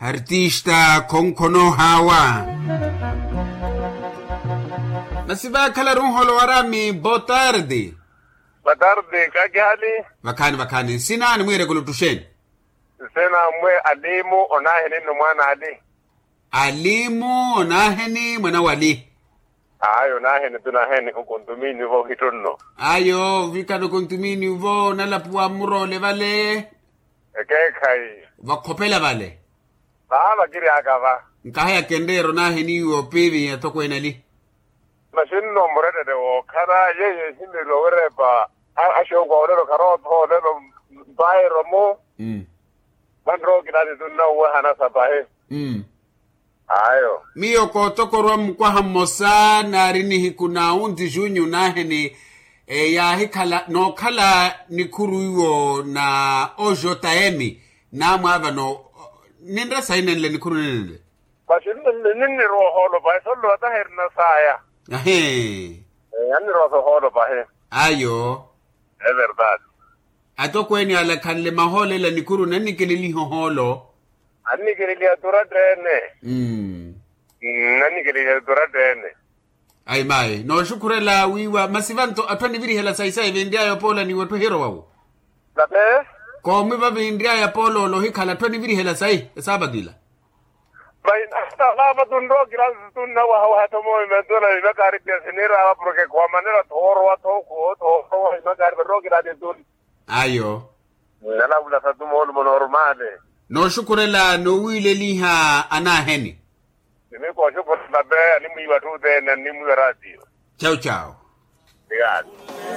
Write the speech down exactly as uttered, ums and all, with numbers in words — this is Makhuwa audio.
Artista khonkhono hawa. Masi vakhalaru nholo warami botardi. Botardi kakihali. Vakhani vakhani nsinani mwirekulutuxeni. Nsinani mwe alimu onaheni nno mwana ali. Alimu onaheni mwana wali. Ayo naheni tunaheni okontumini vo hitto nno. Ayo vikano kontumini vo nalapuwa murole vale. Ekeekhayi. Vakhopela vale. Vava kiri akava. Nkaha yakenreero naheni iwo pivi yatokwenali. Masi nno murettette wookhala yeye ehimirilo wirepa. Axookwa olelo kharootho olelo. Mpairo mu. Vanrookilani tunna uwehana sapahi. Ayo. Miyo kootokorwa mukwaha mmosa naari nihiku na onzi junyu naheni. Yaahikhala nookhala nikhuru iwo na ojota emi. Naamwaavano ninre sayi nenle nikhuru nenle. Masi ninnirowa ohoolo pahi solo ataherina saya. Ahi. Annirowa sohoolo pahi. Ayo. Everdade. Atokweeni alakhanle mahoolo ela nikhuru nannikeleliha ohoolo. Annikeleliha turattene. Nannikeleliha turattene. Ayi mayi nooxukhurela wiiwa masi vanto atthu anivirihela sayi sayi vinry'aya opoola ni wetthu ehirowawo. Koomi vavinry'aya pooloolo ohikhala atthu anivirihela sayi esaapatila. Vayi nata vava tunrookilani tunna wahawaha tho moomi mantuna vimakaari pia siniiraava porke khwamanela thoorowa thookhoo thoorowa vimakaari vanrookilani tun. Ayo. Nalavula satu moolumo normale. Nooxukhurela noowiileliha anaheni. Nimikooxukhurela pe animwiiwa atthu othene animwiiwa ratio. Chau chau. Obrigado.